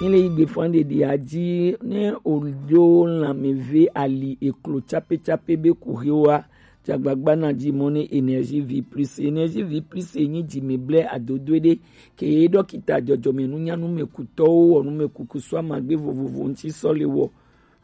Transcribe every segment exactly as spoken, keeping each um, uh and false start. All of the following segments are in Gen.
Ele yi gbe fan ɖeɖi aji ne oɖo lanmeve ali eklo cape cape be ku hewa. Jagbagba na ji mɔ ne Énergie Vie Plus. Énergie Vie Plus e nyi ji me ble adodo ɖe ke ye dɔkita jɔjɔme nunya numekutɔwo wɔ numekuku so amagbe vovovo ŋuti sɔ le wɔ.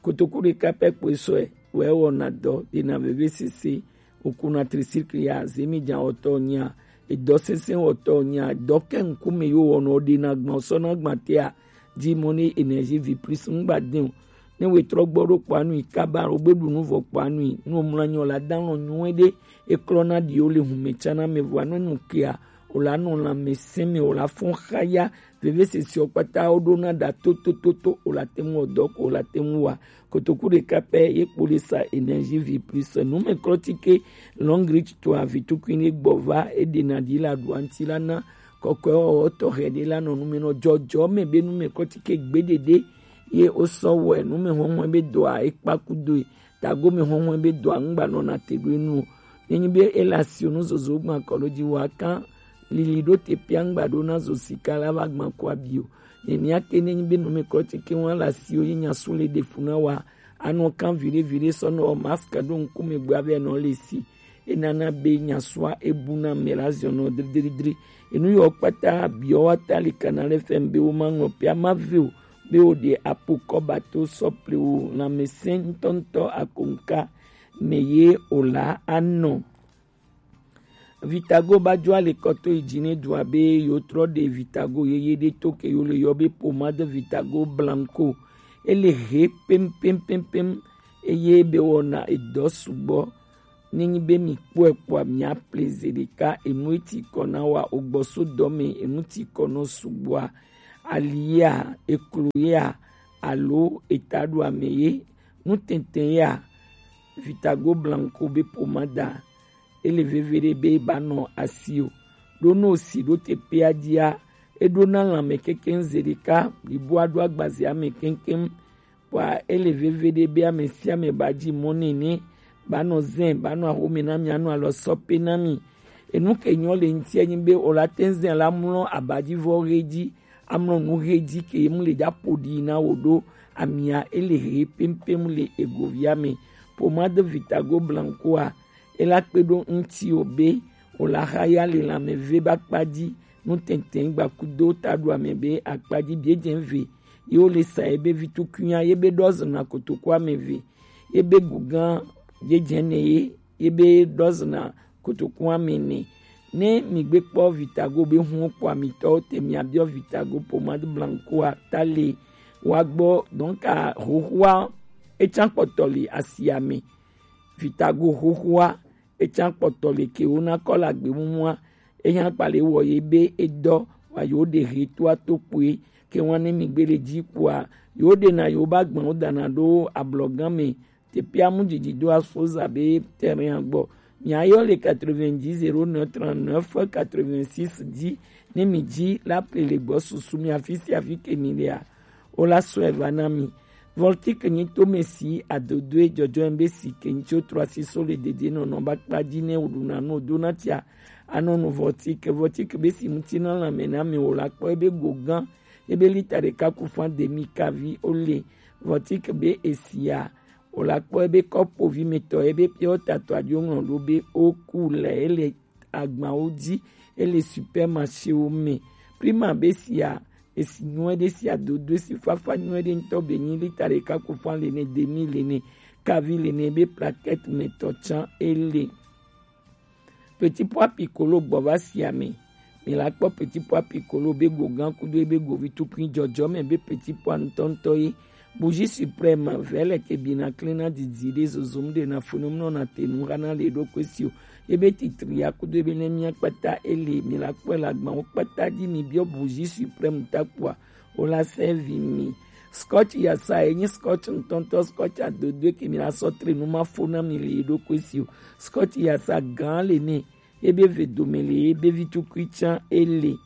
Kotoku ɖeka pɛ kpoe sɔe wɔ ewɔna dɔ ɖena vevesese, okuna tricycle ya, zemijan wɔtɔ nya, edɔ sese wɔtɔ nya, dɔ ke ŋkume yo wɔnɔ ɖena gbɔn sɔna gbatea, ji mɔ ne Énergie Vie Plus ŋgba den o. Ne wetrɔ gbɔ ɖo kpɔa nui kaba o gbe ɖu nu vɔ kpɔa nui, nu omlɔ anyi o la dan lɔ nyuie ɖe, eklɔna ɖi o le hume tsana me vɔa nu nu kea o la nɔ lãmesẽ me o la fɔn xaya. Vevesese ɔ kpata wo ɖona ɖa totototo o la te ŋu wɔ dɔ ko o la te ŋu wa. Kotoku ɖeka pɛ ye kpo le sa Énergie Vie Plus. Numeklɔtike Long Reach to avitukui ne gbɔ va eɖena ɖi la ɖu anti la na kɔkɔe wɔwɔ tɔxɛ ɖe la nɔ nume nɔ jɔjɔ me be numeklɔtike gbeɖeɖe ye wosɔ wɔe numehɔnhɔn be dɔa ekpa kudoe. Tagome hɔnhɔn be dɔa ŋgba nɔna te ɖo enu o. Nenyi be ele asi o nu zozo gba kɔ ɖo ji wa kan lili ɖo te pia ŋgba ɖo na zo sika la va gba ko abi o. Nenia ke nenyi be numeklɔtike wa le asi o ye nya su le ɖe fu na wa anɔ kan viɖe viɖe sɔ nɔ masque ɖo ŋkume gba be nɔ le si. Enana be nya sua ebu na me la ziɔ nɔ dridridri. Enu yɔ kpata biɔ wa ta li kana le fɛn be wo ma ŋlɔ pia ma ve o. Be o ɖe apo kɔba to sɔple o lãmesẽ ŋutɔŋutɔ akonka me ye o la anɔ. Vitago ba jo ale kɔto yi dzi ne dua be yo trɔ ɖe Vitago yeye ɖe to ke yo le yɔ be pomade Vitago blanco. Ele he pem pem pem pem eye be wɔna edɔ sugbɔ. Nenyi be mi kpɔe kpɔa mia ple ze ɖeka enu eti kɔ na wa ogbɔ so dɔ me enu ti kɔ nɔ sugbɔa, alia, eklo ya, alo etaɖoame ye, nutɛntɛ ya, Vitago blanco be pomada, ele veve ɖe be ba nɔ asi o. Ɖo no si ɖo te pea dia, eɖo na lãme kekeŋ ze ɖeka, liboa ɖo agbazea me keŋkeŋ. Kpɔa ele veve ɖe be ame sia ame ba ji mɔ nɛ ne ba nɔ zɛn, ba nɔ axome na mi, anɔ alɔ sɔ pe na mi. Enu ke nyɔ le ŋuti enyi be o la te zɛn la mlɔ abadivɔ he ji, amlɔ nu he ji ke ye mu le dza ƒo ɖi na wo ɖo amia ele he pempem le egovia me. Pomade Vitago blancoa ela kpe ɖo ŋuti o be o la xa ya le lãme ve ba kpa ji nu tɛntɛn gba kudo taɖoame be akpa ji biedze ve. Ye wo le sa ye be vitukunya ye be ɖɔ zena kotoku ame eve. Ye be gugã ye dze ne ye ye be ɖɔ zena kotoku ame ne. Ne mi gbe kpɔ Vitago be hun kpɔ amitɔwo te mia biɔ Vitago pomade blancoa ta le wa gbɔ donc a hohoa etsa kpɔtɔ le asia me. Vitago hohoa etsa kpɔtɔ le ke wo na kɔ le agbe mumua eya kpa le wɔ ye be edɔ wa yo ɖe he toa to kpoe ke wa ne mi gbe le ji kpoa yo ɖe na yo ba gbɔn wo dana ɖo ablɔgã me. Tepia mu didi do afo za be terrain gbɔ. Mia yɔ le quatre-vingt-dix zéro neuf trente-neuf quatre-vingt-six dix ne mi ji la ple le gbɔ susu mi afi sia afi ke mi lea. O la sɔe va na mi. Voltique nyi to me si adodoe jɔjɔe be si ke nyi tso trɔ asi so le dede nɔnɔ ba kpa ji ne o ɖuna nu o dona tia. Anɔ nu Voltique, Voltique be si ŋuti na lãme na mi o la kpɔ ebe go gã ebe lita ɖeka ku fan demi kavi o le. Voltique be esia o la kpɔ ebe kɔpo vi me tɔ ebe piɔ tatɔ adio ŋlɔ ɖo be o ku le ele agbawo ji ele supermarché wo me. Prima be sia esi nyuie ɖe sia dodo si fafa nyuie ɖe ŋutɔ be nyi lita ɖeka ku fan le ne demi le ne kavi le ne be plaquette me tɔ tsã ele. Petit pois piccolo gbɔ va sia me. Mi la kpɔ petit pois piccolo be go gã kudo ebe go vi tukui jɔjɔ me be petit pois ŋutɔŋutɔ ye. Bougie suprême vɛlɛ ke bina klena didi ɖe zozom ɖe na funu mlɔ na te nu hana le ɖo kwe si o. Ebe titri ya kudo ebe ne mia kpata ele mi la kpɔ la gbawo kpata di mi biɔ bougie suprême ta kpɔa o la sɛvi mi. Scotch yasa enyi scotch ŋutɔŋutɔ scotch adodoe ke mi la sɔ tre nu ma fo na mi le ɖo kwe si o. Scotch yasa gã le ne ebe ve dome le ebe vi tukui tsã ele.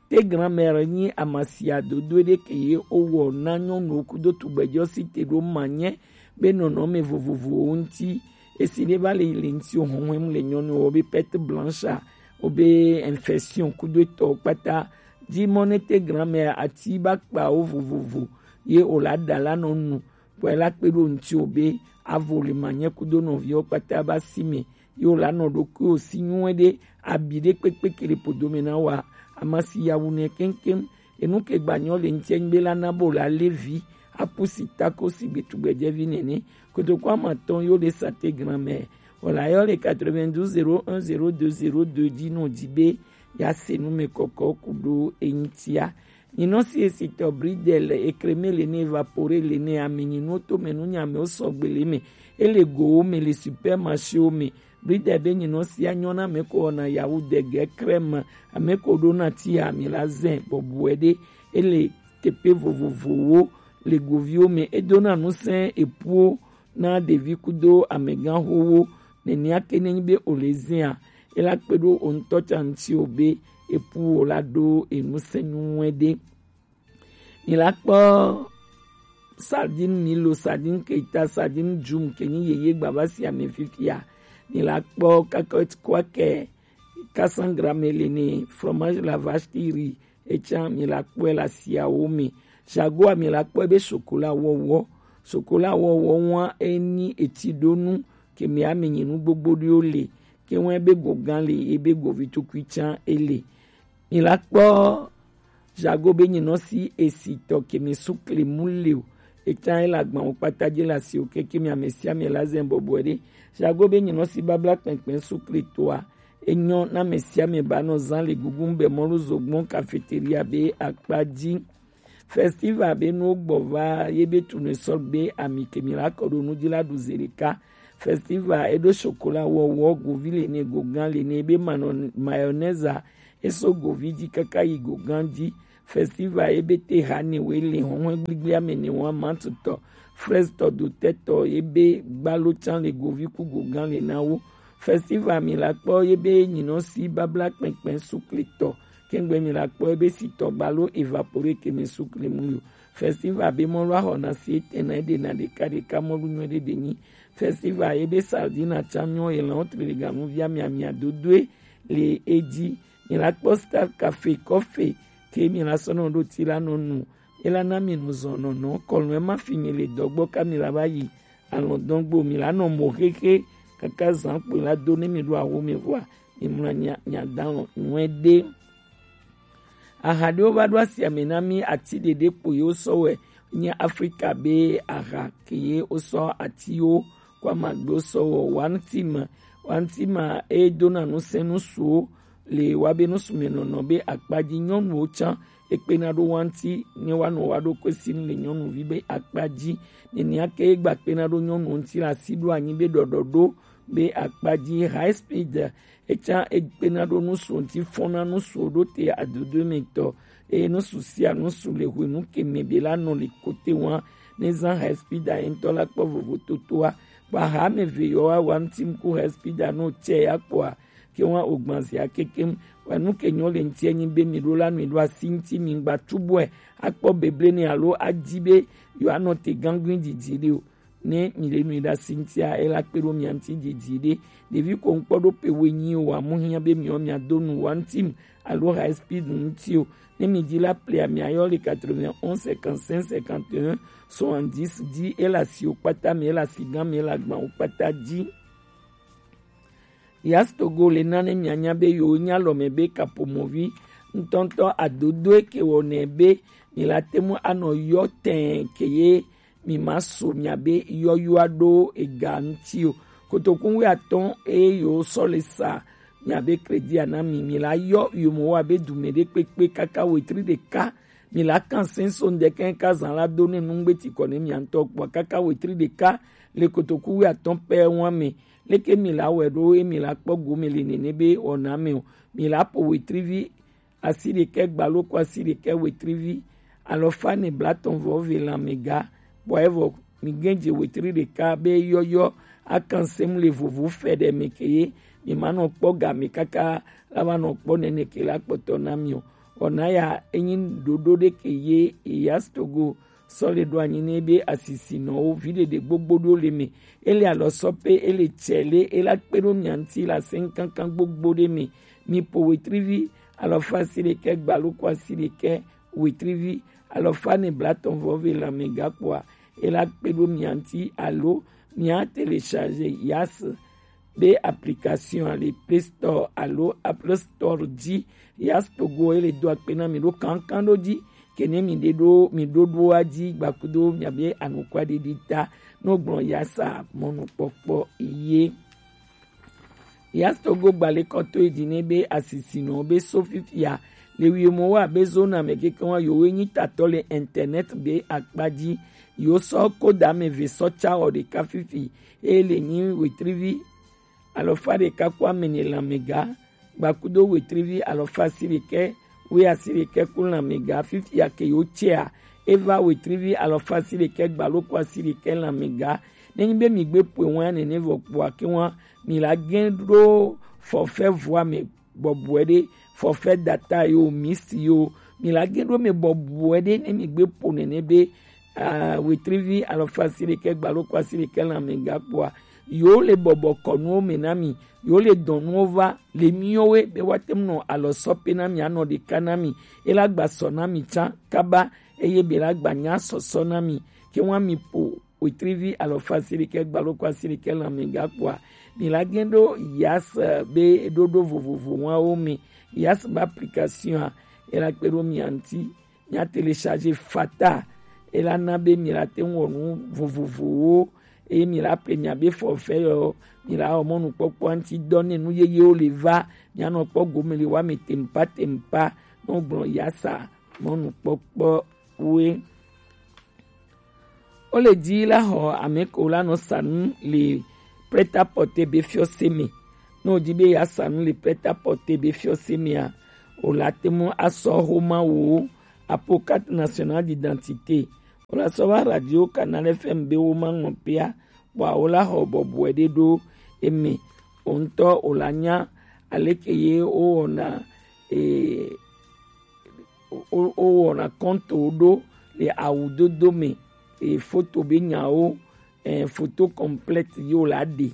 Te grand-mère nyi amasia dodo ɖe ke ye o wɔ na nyɔnuwo kudo tugbɛjɔ si te ɖo ma nye be nɔnɔme vovovowo ŋuti. Esi ɖe va le le ŋuti o hɔhɔm le nyɔnuwo be perte blanche a, o be infection kudo etɔwo kpata Ji mɔ ne te granmɛ ati ba kpawo vovovo ye o la da la nɔ nu, bɔ e la kpe ɖo ŋti o be avo le ma nyɛ kudo nɔviwo kpata ba si mɛ ye o la nɔ ɖokuiwo si nyuie ɖe abi ɖe kpekpe ke le podo mɛ na wa. Amasi yawu nɛ keŋkeŋ. Enu ke gba nyɔ le ŋtiɛ nyigbe la na bo la levi apusi tako si gbetugbɛjɛvi nɛnɛ. Kotoku amatɔn yo le sate granmɛ. Wala yɔ le quatre-vingt-douze zéro un zéro deux zéro deux ji nɔ ji be ya se nu mɛ kɔkɔ ku ɖo eŋtia. Nyinɔ si esitɔ bridel ekreme le ne evapore le ne ame nyinuwo to mɛ nu nyame wo sɔgbe le mɛ. Ele gowo mɛ le supermarché wo mɛ. Bridel be nyinɔ sia nyɔ na ame ko wɔna yawu dege kreme ame ko ɖo na ti ha mi la zɛ bɔbɔe ɖe. Ele teƒe vovovowo le goviwo me. Edona ŋusẽ epuwo na ɖevi kudo amegãxowo. Nenea ke nenyi be o le zẽa, ela kpe ɖo o ŋutɔ tsa ŋuti o be epuwo la ɖo eŋusẽ nyuie ɖe. Mi la kpɔ sardine Milo, sardine Keita, sardine Jum ke nyi yeye gbava sia me fifia. Mi la kpɔ kakɔt kwakɛ quatre cents grammes le ne, fromage la vache qui rit, etsã mi la kpɔe le asiawo me. Jagoa mi la kpɔe be chocolat wɔwɔ. Chocolat wɔwɔ wa enyi etiɖonu ke mi ame nyi nu gbogbo ɖewo le. Ke wa ebe go gã le, ebe go vi tukui tsã ele. Mi la kpɔ Jago be nyinɔ si esitɔ ke mi sukle mu le o. Etsã ele agbawo kpata dzi le asiwo keke mi ame sia ame la zɛ bɔbɔe ɖe. Jago be nyinɔ si babla kpɛnkpɛn sukle toa, enyɔ na ame sia ame ba nɔ zã le gugu be mɔlu zogbɔn cafeteria be akpa dzi. Festival be nuwo gbɔ va ye be tunu sɔ be ami ke mi la kɔ ɖo nu dzi la ɖu ze ɖeka. Festival eɖo chocolat wɔwɔ govi le ne, gogã le ne, be manɔ mayonnaise eso govi dzi kaka yi gogã dzi. Festival ebe te ha ne we le hɔnhɔn gbligble ame ne wa mantutɔ, fraise tɔ, dotɛtɔ ebe gbalo tsan le govi ku gogã le na wo. Festival mi la kpɔ ebe nyinɔ si babla kpɛnkpɛn sukle tɔ, kɛngbe mi la kpɔ ebe si tɔ gbalo evapore ke mi sukle mu yo. Festival be mɔ lɔ ahɔ na si ete na ede na ɖeka ɖeka mɔlu nyuie ɖe ɖe nyi. Festival ebe sardine atsa nyɔ elan wo tre le ganu via mia mia dodoe le edzi. Mi la kpɔ Star Cafe kɔfe ke mi la sɔ nɔ ɖo ti la nɔ nu. Ela na mi nu zɔn nɔnɔ kɔlɔn ema fi mi le dɔgbɔ ka mi la va yi alɔdɔn gbo mi la nɔ mo xexe kaka zan kpe la do ne mi ɖo awo me vɔa mi mla nya nya dan nyuie ɖe. Aha ɖewo va ɖo asia me na mi, ati ɖeɖe kpo yewo sɔ wɛ nye Afrika be aha ke ye wo sɔ atiwo kɔ amagbewo sɔ wɔ. Wantima, wantima e dona nusẽ nusuwo le wa be nusumenɔnɔ be akpa dzi. Nyɔnuwo tsã ekpena ɖo wanti ne wa nɔ wa ɖo kwe sim le nyɔnuvi be akpa dzi. Nenea ke egba kpena ɖo nyɔnuwo ŋuti le asi ɖo anyi be ɖɔɖɔɖo be akpa dzi. High speed etsã ekpena ɖo nusu ŋuti fɔna nusu ɖo te adodo me tɔ. Eye nusu sia nusu le hwenu ke me be la nɔ le kote wa ne zã high speed a ŋutɔ la kpɔ vovototoa. Kpa ha me ve yɔ wa wa ŋuti ŋku high speed a no tsɛ ya kpɔa ke wa o gbanzia kekem. Wa nu ke nyɔ le ŋuti enyi be mi ɖo la nui ɖo asi ŋuti mi ŋgba tu bɔe akpɔ beble ne alo adi be yɔ anɔ te gangui didi ɖe o. Ne mi le nui ɖe asi ŋutia, ela kpe ɖo mia ŋuti didi ɖe. Ɖevi ko ŋkpɔ ɖo pe we nyi o, amu hiã be miɔ mia do nu wa ŋuti mu alo high speed ŋuti o. Ne mi di la plia mia yɔ le quatre-vingt-onze cinquante-cinq cinquante et un soixante-dix di, ela si o kpata mi, ela si gã mi, ela gban o kpata di. Yas Togo le na ne mianya be yewo nya lɔ me be kapomovi ŋutɔŋutɔ adodoe ke wɔnɛ be mi la te mu anɔ yɔ tɛn ke ye mi ma so mia be yɔyɔa ɖo ega ŋuti o. Kotoku wi atɔn eye yewo sɔ le sa mia be crédit a na mi, mi la yɔ yomo wa be dume ɖe kpekpe kaka wetri ɖeka. Mi la kan sɛn so ŋdɛkɛ ka zan la do ne nungbe ti kɔ ne mia ŋutɔ kpɔ kaka wetri ɖeka le kotoku wi atɔn pɛ wa me. Leke mi la wɛ ɖo ye mi la kpɔ gome le nene be wɔna me o? Mi la po wetrivi asi ɖekɛ gbalo ko asi ɖekɛ wetrivi alɔfa ne blatɔn vɔ ve lanmega. Bɔ evɔ mi gɛn dze wetri ɖeka be yɔyɔ akan sɛm le vovo fɛ ɖe me ke ye mi ma nɔ kpɔ game kaka la va nɔ kpɔ nene ke la kpɔtɔ na mi o. Wɔna ya enyi ɖoɖo ɖe ke ye Yas Togo sɔ le ɖo anyi ne be asisinɔwo vi ɖeɖe gbogbo ɖo le me. Ele alɔ sɔ pe ele tsɛ le ela kpe ɖo mia ŋuti la sɛn kankan gbogbo ɖe me. Mi po wetrivi alɔfa asiɖekɛ gbaloko asiɖekɛ wetrivi alɔfa ene blatɔn vɔ ve lanmɛga kpoa, e la kpe ɖo mia ŋuti alo mia télécharge Yas be application le Play Store alo Apple Store ji. Yas Togo e le do akpe na mi ɖo kankan ɖo ji. Ke ne mi ɖe ɖo mi ɖoɖoa ji gbakudo mia be anukwa ɖiɖi ta no gblɔ Yas a mɔnukpɔkpɔ ye. Yas Togo gbalekɔto yi dzi ne be asisinɔ be so fifia le wiemɔ wa be zona me keke wa yo we nyi tatɔ le internet be akpa ji. Yo sɔ koda me ve sɔ tsa wɔ ɖeka fifi e le nyi wetrivi alɔfa ɖeka ku amene lanmɛga gbakudo wetrivi alɔfa asiɖekɛ we asiɖekɛ ku lanmɛga. Fifia ke yo tsea, e va wetrivi alɔfa asiɖekɛ gbaloko asiɖekɛ lanmɛga. Ne nyi be mi gbe poe wa nene vɔ kpoa ke wa mi la gɛn ɖo forfait vɔ ame bɔbɔe ɖe, forfait data yo, mix yo, mi la gɛn ɖo me bɔbɔe ɖe ne mi gbe po nene be ah, wetrivi alɔfa asiɖekɛ gbaloko asiɖekɛ lanmɛga kpoa, yo le bɔbɔ kɔnuwo me na mi, yo le dɔnuwo va le miwo we be wa te mu nɔ alɔ sɔ pe na mi anɔ ɖeka na mi, e la gba sɔ na mi tsa kaba eye be la gba nya sɔsɔ na mi ke wa mi po wetrivi alɔfa asiɖekɛ gbaloko asiɖekɛ lanmɛga kpoa, mi la gɛn ɖo Yas be ɖoɖo vovovo wawo me. Yas be application a, e la kpe ɖo mia ŋuti mia télécharge fata. E la na be mi la te ŋu wɔ nu vovovowo eye mi la ple mia be forfait yɔ mi la wɔ mɔnukpɔkpɔ ŋuti dɔ ne nu yeyewo le va mia nɔ kpɔ gome le wa me tempa tempa. No gblɔ Yas a mɔnukpɔkpɔ we. Wo le dzi la xɔ ame ko la nɔ sa nu le prêt-à-porter be fiɔse me. Ne wòdi be yeasa nu le prêt-à-porter be fiɔse mea, wòla te ŋu asɔ xoma wò apo carte nationale d'identité. Wòla sɔ va radio Canal F M be wo ma ŋlɔ pea, kpɔa wola xɔ bɔbɔe ɖe ɖo eme. Wò ŋutɔ wòla nya aleke ye wowɔna, e, wo, wo, wowɔna kɔntowo ɖo le awudodo me, e, foto be nyawo, e, photo complète ye wòla ɖe.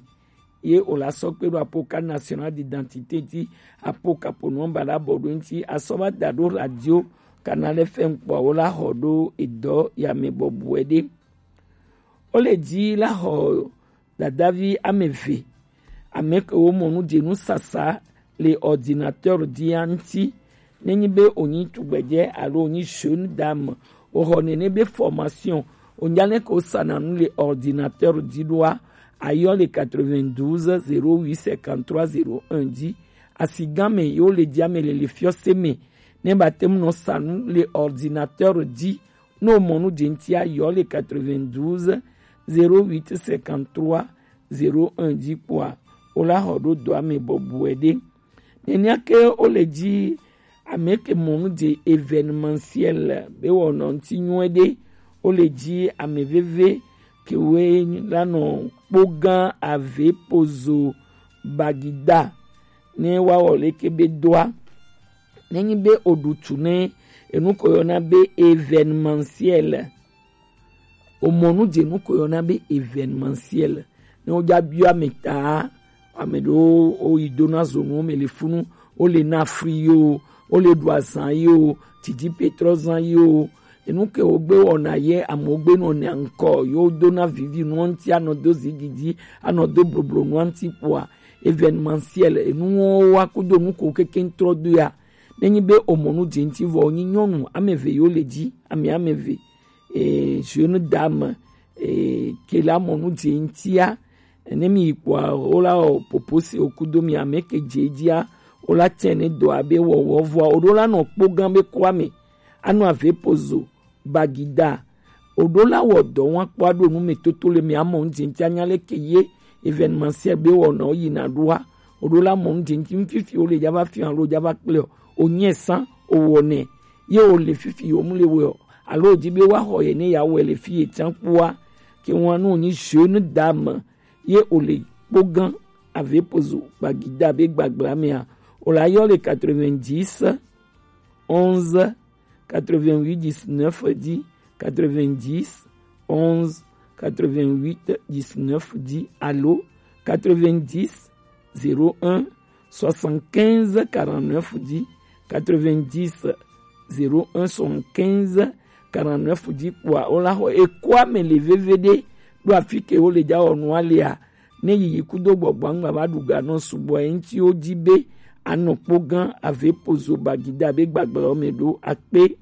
Ye wòla sɔ kpe ɖo apo carte nationale d'identité ŋuti, apo kapo nɔmba la bɔ ɖo ŋuti, asɔ va da ɖo radio Canal F M kpɔa, wola xɔ ɖo edɔ ya me bɔbɔe ɖe. Wo le dzi la xɔ dadavi ame eve, ame kewo mɔ nu dze nu sasa le ordinateur dzia ŋuti. Nenyi be wònyi tugbedzɛ alo wònyi jeune dame, wòxɔ nene be formation, wònya leke wosana nu le ordinateur dzi ɖoa, ayɔ le quatre-vingt-douze zéro huit cinquante-trois zéro un dzi. Asigã me yewo le dzia me le le fiɔse me, ne ba te ŋu nɔ sa nu le ordinateur dzi. Ne womɔ nu dze ŋutia, yɔ le quatre-vingt-douze zéro huit cinquante-trois zéro un dzi kpɔa, wola xɔ ɖo dɔa me bɔbɔe ɖe. Nenea ke wo le dzi ame ke mɔ nu dze événementiel be wɔnɔ ŋuti nyuie ɖe, wo le dzi ame veve kewoe la nɔ kpogã ave pozo bagida ne woawɔ leke be doa. Nenyi be oɖu tu ne enu ko yɔna be événementiel, omɔ nu dze nu ko yɔna be événementiel. Ne wodza biɔ ame ta, ame ɖewo woyi dona zonuwo me le funu, wole na fri yo, wole ɖu azan yo, didi petrɔ zan yo, enu ke wogbe wɔna ye amewo gbe nɔ nea ŋkɔ yo dona vivi nua ŋuti anɔ do zigidi, anɔ do bloblo nua ŋuti kpɔa, événementiel, enuwo wa kudo nu ko kekeŋ trɔ do ya. Nenyi be omɔ nu dze ŋuti vɔ, wonyi nyɔnu ame eve yewo le dzi, ame ame eve, e, jeune dame, e, ke la mɔ nu dze ŋutia, ne mi yi kpɔa, wola wɔ popo se wo kudo mi ame ke dze dzia, wola tsɛ ne dɔ abe wɔwɔ vɔa, woɖo la nɔ kpogã be kua me, anɔ ave pozo, bagida. Oɖo la wɔ dɔ wa kpɔ aɖo nu me toto le me amɔ ŋdzi ŋti anya leke ye événementiel be wɔna wo yina ɖoa. Oɖo la mɔ ŋdzi ŋti fifi wo le dza va fia alo dza va kple o. Onye san owɔ nɛ ye o le fifi o mu le wɔ alo o di be wa xɔ ye ne ya wɔ le fi ye tsan kpɔa. Ke wa no nyi jeune dame ye o le kpogã ave pozo gbagida be gbagbla mea. O la yɔ le quatre-vingt-dix onze quatre-vingt-huit dix-neuf dix, quatre-vingt-dix onze quatre-vingt-huit dix-neuf dix, alo quatre-vingt-dix zéro un soixante-quinze quarante-neuf dix, quatre-vingt-dix zéro un soixante-quinze quarante-neuf dix kpoa, wo la xɔ eko ame le veviɖe ɖo afi ke wo le ja wɔ nua lea. Ne yiyi kudo gbɔgbɔ ŋgba va ɖu ga nɔ sugbɔ eŋti wo ji be anɔ kpo gã ave pozo bagida be gbagblɔ me ɖo akpe.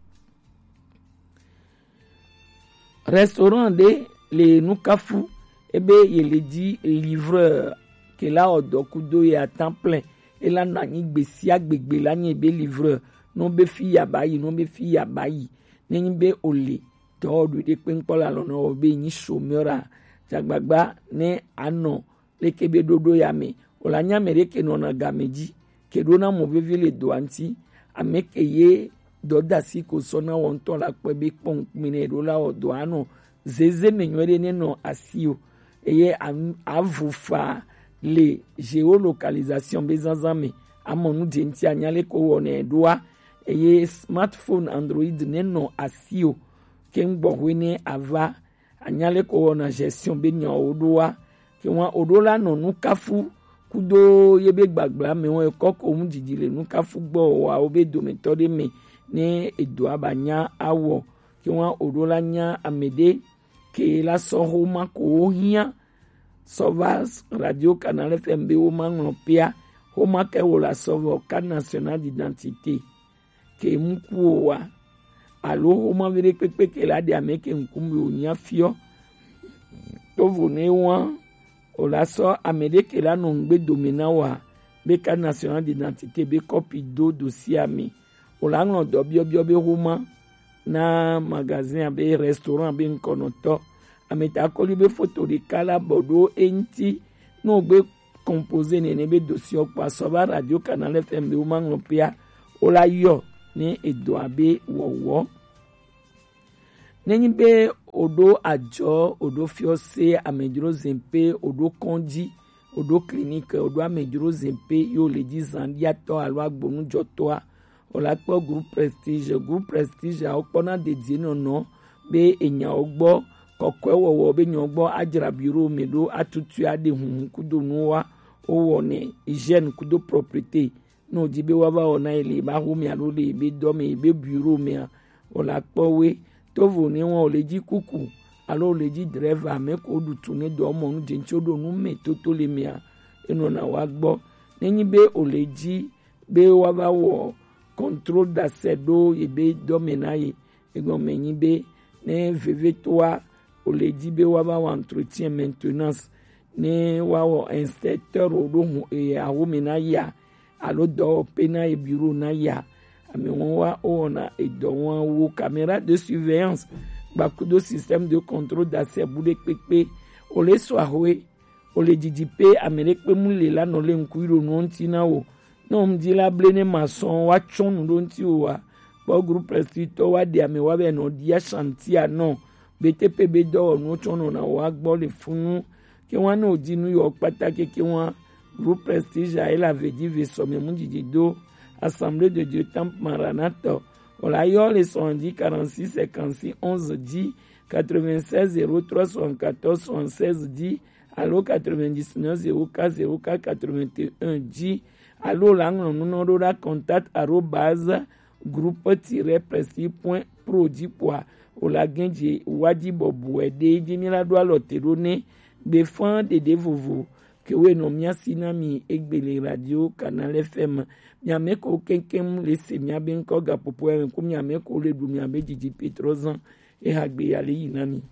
Restaurant ɖe le Nukafu ebe ye le ji livreur ke la wɔ dɔ kudo ye à temps plein. E la nɔ anyi gbe sia gbe gbe la nye be livreur, no be fi ya ba yi, no be fi ya ba yi. Ne nyi be o le dɔ ɖu ɖe kpe ŋkpɔ la lɔ nɔ wɔ be nyi chômeur a, jagbagba ne anɔ leke be ɖoɖo ya me. O la nya ame ɖe ke nɔna game ji ke ɖo na mɔ vevi le dɔa ŋti. Ame ke ye dɔdasi ko sɔ na wɔ ŋutɔ la kpɔe be kpɔ ŋkpmi ne ɖo la wɔ dɔa nɔ zeze me nyuie ɖe ne nɔ asi o. Eye avu fa le géolocalisation be zazã me. Amɔ nu dze ŋti anya leke wɔ ne ɖoa. Eye smartphone Android ne nɔ asi o. Ke ŋgbɔ hwe ne ava anya leke wɔna gestion be nyawo ɖoa. Ke wa o ɖo la nɔ Nukafu kudo ye be gbagbla me wɔn ekɔ ko ŋu didi le Nukafu gbɔ wa wo be dometɔ ɖe me ne edoa ba nya awɔ. Ke wa o ɖo la nya ame ɖe ke la sɔ xoma ko wo hiã sɔ va Radio Canal F M be wo ma ŋlɔ pea xoma ke wo la sɔ vɔ carte nationale d'identité ke mu ku o wa alo xoma vi ɖe kpekpe ke la ɖe ame ke ŋkume o nya fiɔ. Tovo ne wa o la sɔ ame ɖe ke la nɔ ŋgbe dome na wa be carte nationale d'identité be kɔpi do dosia me. O la ŋlɔ dɔ biɔbiɔ be xoma na magasin abe restaurant be ŋkɔnɔtɔ. Ame ta kɔli be foto ɖeka la bɔ ɖo eŋti. Ne o gbe composé nene be dossier kpa sɔ va Radio Canal F M be wo ma ŋlɔ pea, o la yɔ ne edɔ abe wɔwɔ. Ne nyi be o ɖo adzɔ, o ɖo fiɔse, amedzro zin pe, o ɖo kɔndzi, o ɖo clinique, o ɖo amedzro zin pe, yo le dzi zan ɖiatɔ alo agbonujɔtɔa, o la kpɔ Groupe Prestige. Groupe Prestige a wo kpɔna dedie nɔnɔ be enyawo gbɔ, kɔkɔe wɔwɔ be nyawo gbɔ adzra bureau me ɖo atutu aɖe huhu kudo nuwa wo wɔnɛ hygiène kudo propreté. Ne o di be wa va wɔna ye le ba xo me alo le be dɔ me be bureau me a, o la kpɔ we. Tovo ne wa o le dzi kuku alo o le dzi driver me ko ɖu tu ne dɔ mɔ nu dze ŋtsi o ɖo nu me toto le me a, enɔna wa gbɔ. Ne nyi be o le dzi be wa va wɔ contrôle d'accès ɖo ye be dɔ me na ye. Egɔme nyi be ne vevetoa o le dzi be wa va wɔ entretien, maintenance, ne wa wɔ inspecteur o ɖo hu e awo me na ya alo dɔwɔƒe na ye bureau na ya. Ame wɔn wa o wɔna edɔ wɔn wo caméra de surveillance gbakudo système de contrôle d'accès bu ɖe kpekpe. O le sɔ ahoe o le didi pe ame ɖe kpe mu le la nɔ le ŋku ɖo nuwo ŋti na wo. Ne wo ŋdi la ble ne ma sɔn wa tsɔn nu ɖo ŋti wo wa kpɔ Groupe Prestige tɔ wa ɖe ame wa be nɔ ɖia chantier nɔ. B T P be dɔwɔnuwo tsɔ nɔna wa gbɔ le funu. Ke wa ne o di nu yɔ kpata keke wa Groupe Prestige a ela ve di ve sɔ me mu didi do Assemblée de Dieu Temple Maranatha. O la yɔ le sɔn di quarante-six cinquante-six onze di quatre-vingt-seize zéro trois soixante-quatorze soixante-seize di alo quatre-vingt-dix-neuf zéro quatre zéro quatre quatre-vingt-un di alo la ŋlɔ nu nɔ ɖo ɖa contact arobase groupe tiret prestige point pro di kpoa o la gɛn dzi wa di bɔbɔe ɖe dzi mi la ɖo alɔ te ɖo ne gbe fã ɖeɖe vovo ke wo nɔ mia si na mi egbe le Radio Canal F M. Mi ame ko keŋkeŋ le se mia be ŋkɔ gaƒoƒo ya me ku mi ame ko le ɖu mi abe didi pe trɔ zan eha gbe ya le yi na mi.